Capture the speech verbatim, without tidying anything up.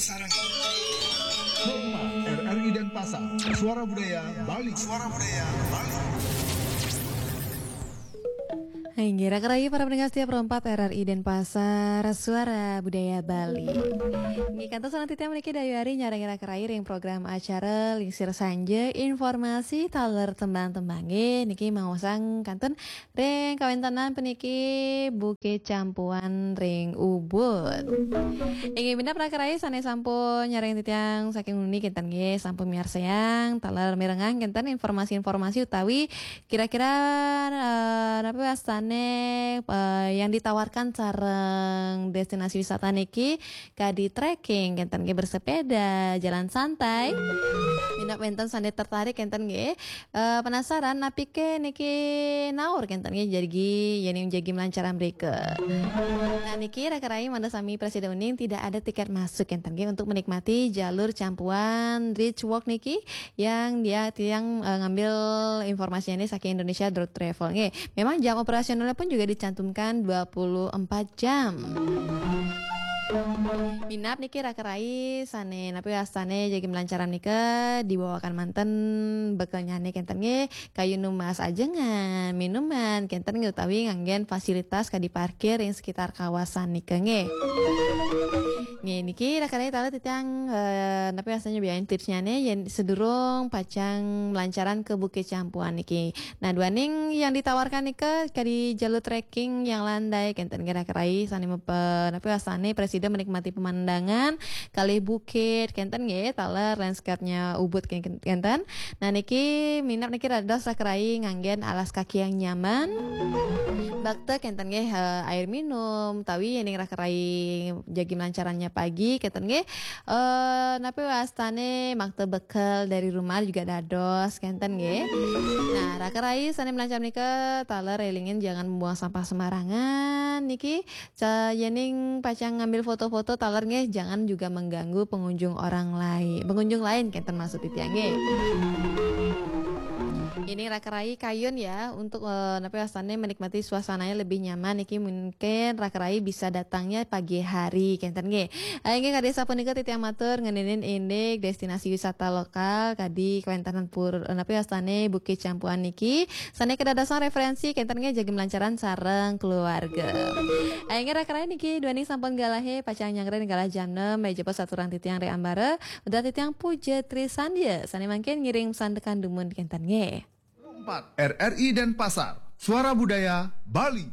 Sarang. Hotma, R R I Denpasar, Suara Budaya Bali. Suara Budaya Bali. Inggih, raka rahayu para pendengar setia Pro empat R R I Denpasar, Suara Budaya Bali. Inggih, kantos sareng titiang puniki Dayu Ari nyarengin raka rahayu ring program acara Lingsir Sanja, informasi taler tembang-tembang. Nggih, niki maosang kantun ring kawentenan puniki Bukit Campuan ring Ubud. Inggih, minab raka rahayu sane sampun nyarengin titiang saking wengi kenten nggih, sampun miarsayang taler mirengang kenten informasi-informasi utawi kira-kira eh, napi wastane eh, yang ditawarkan sareng destinasi wisata niki kadi trekking kenten nggih, bersepeda, jalan santai. Minab wenten sane tertarik kenten nggih. Eh, penasaran napike niki naur kenten nggih, jagi yening jagi melancaran mrika. Nah, niki raka rahayu mangda sami prasida uning, tidak ada tiket masuk kenten nggih untuk menikmati jalur Campuan Ridge Walk niki yang dia tiang eh, ngambil informasinya ini saking Indonesia dot travel nggih. Memang jam operasionalnya pun juga dicantumkan dua puluh empat jam. Minab niki raka rahayu sane napi wastane jagi melancaran nika dibawakan manten bekelnyane kenten nggih, kayun numbas ajengan, minuman kenten nggih, utawi nganggen fasilitas kadi parkir ring sekitar kawasan nika nggih. Nggih, niki raka rahayu taler titiang eh, napi wastane biayain tipsnyane yen sedurung pacang melancaran ke Bukit Campuan niki. Nah, duaning yang ditawarkan nika kadi jalur trekking yang landai kenten nggih, raka rahayu sane mepe napi wastane prasida menikmati pemandangan kalih bukit kenten nggih, taler landscape-nya Ubud ken- kenten. Nah, niki minab niki dados raka rahayu nganggen alas kaki yang nyaman. Bakta kenten nggih, eh, air minum, utawi yening raka rahayu jagi melancarannya pagi kenten nggih. Eh, napi wastane makta bekel dari rumah juga dados kenten nggih. Nah, raka rahayu sane melancar nika taler elingin jangan membuang sampah sembarangan niki. Ca- yening pacang ngambil foto-foto taler nggih, jangan juga mengganggu pengunjung orang lain. Pengunjung lain kenten maksud titiang nggih. Ini raka rahayu kayun ya untuk eh, napi wastane menikmati suasananya lebih nyaman niki, mungkin raka rahayu bisa datangnya pagi hari kenten nggih. Eh, inggih kadi sapunika titiang matur ngeninin indik destinasi wisata lokal kadi kawentanan pur eh, napi wastane Bukit Campuan niki sane kadadosan referensi kenten nggih jagi melancaran sareng keluarga. Eh, inggih raka rahayu niki duaning sampun galahe pacang nyanggra galah jam enam, menawi jebos aturang titiang ri ambara, udah titiang Puja Trisandya sane mangkin ngiring sandekan dumun kenten nggih. Empat, R R I Denpasar, Suara Budaya Bali.